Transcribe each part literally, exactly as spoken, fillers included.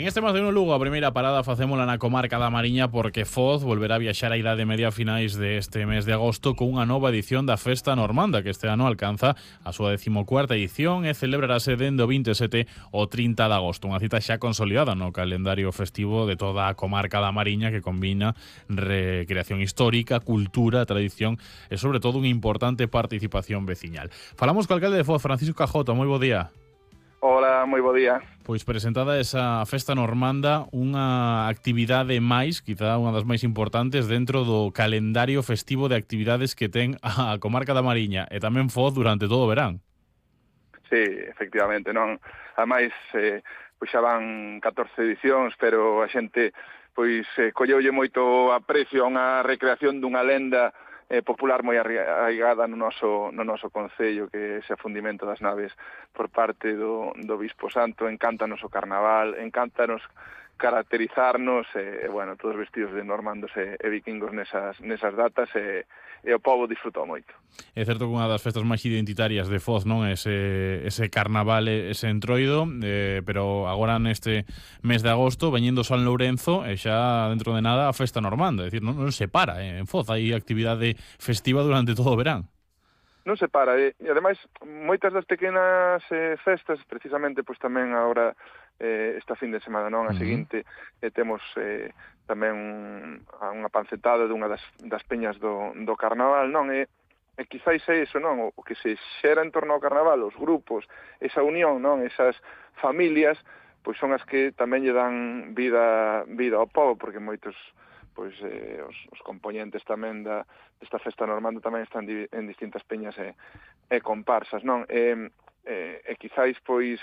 En este Más de Uno Lugo, a primeira parada facémola na comarca da Mariña porque Foz volverá a viaxar a Idade Media a finais deste mes de agosto con unha nova edición da Festa Normanda que este ano alcanza a súa decimocuarta edición e celebrarase dende o vinte e sete ao trinta de agosto. Unha cita xa consolidada no calendario festivo de toda a comarca da Mariña que combina recreación histórica, cultura, tradición e sobre todo unha importante participación veciñal. Falamos co alcalde de Foz, Francisco Cajota. Moi bo día. Hola, moi bo día. Pois presentada esa Festa Normanda, unha actividade máis, quizá unha das máis importantes dentro do calendario festivo de actividades que ten a comarca da Mariña e tamén Foz durante todo o verán. Sí, efectivamente, non. Ademais, eh, pois xa van catorce edicións, pero a xente pois eh, colleulle moito aprecio a unha recreación dunha lenda eh, popular moi arraigada no noso, no noso concello, que é ese afundimento das naves por parte do, do Bispo Santo. Encántanos o carnaval, encántanos caracterizarnos, e, eh, bueno, todos vestidos de normandos e, e vikingos nesas, nesas datas, e, e o povo disfrutou moito. É certo que unha das festas máis identitarias de Foz, non, ese, ese carnaval, ese entroido, eh, pero agora neste mes de agosto, veñendo San Lourenzo, e xa dentro de nada a Festa Normanda, é dicir, non, non se para, eh, en Foz hai actividade festiva durante todo o verán. Non se para, e, e ademais, moitas das pequenas eh, festas, precisamente, pois tamén agora, eh, esta fin de semana, non, a uh-huh. seguinte, eh, temos eh, tamén un, unha pancetada dunha das, das peñas do, do carnaval, non, e, e quizáis é iso, non, o que se xera en torno ao carnaval, os grupos, esa unión, non, esas familias, pois son as que tamén lle dan vida, vida ao povo, porque moitos pois eh, os, os componentes tamén da desta Festa Normanda tamén están di, en distintas peñas e, e comparsas, non? E, e, e quizáis, pois,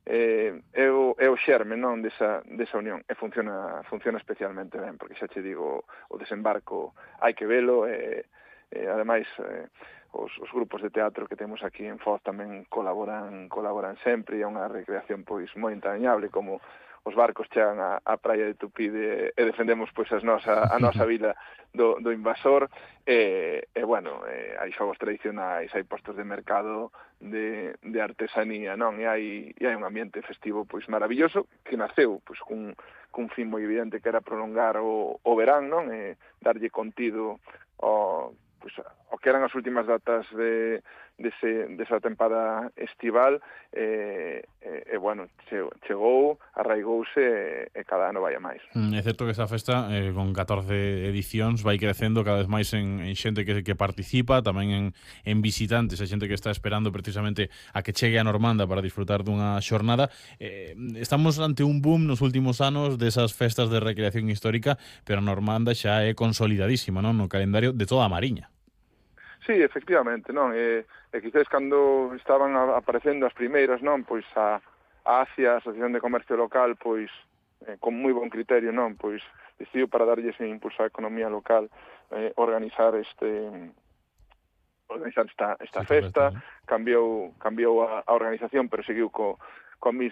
eh, é, o, é o xerme, non, desa, desa unión, e funciona funciona especialmente ben, porque xa che digo, o desembarco hai que velo, e, e ademais, eh, os, os grupos de teatro que temos aquí en Foz tamén colaboran colaboran sempre, e é unha recreación, pois, moi entrañable, como os barcos chegan á, á praia de Tupide e defendemos pois as nosa, a nosa vila do, do invasor, e, e bueno, e, hai xogos tradicionais, hai postos de mercado de, de artesanía, non? E hai, e hai un ambiente festivo pois maravilloso que naceu pois cun, cun fin moi evidente que era prolongar o, o verán, non? E darlle contido ao pois o que eran as últimas datas de dese, desa tempada estival, e, e, e bueno, chegou, arraigouse e, e cada ano vai a máis. Mm, é certo que esa festa, eh, con catorce edicións, vai crecendo cada vez máis en, en xente que, que participa, tamén en, en visitantes, a xente que está esperando precisamente a que chegue a Normanda para disfrutar dunha xornada. Eh, estamos ante un boom nos últimos anos desas festas de recreación histórica, pero a Normanda xa é consolidadísima, non, no calendario de toda a Mariña. Sí, efectivamente, non? E, e quizás cando estaban a, aparecendo as primeiras, non? Pois a, a ACIA, a Asociación de Comercio Local, pois eh, con moi bon criterio, non? Pois decidiu para darlle ese impulso á economía local eh, organizar este organizar esta, esta sí, festa, cambiou cambiou a, a organización, pero seguiu co, co mismo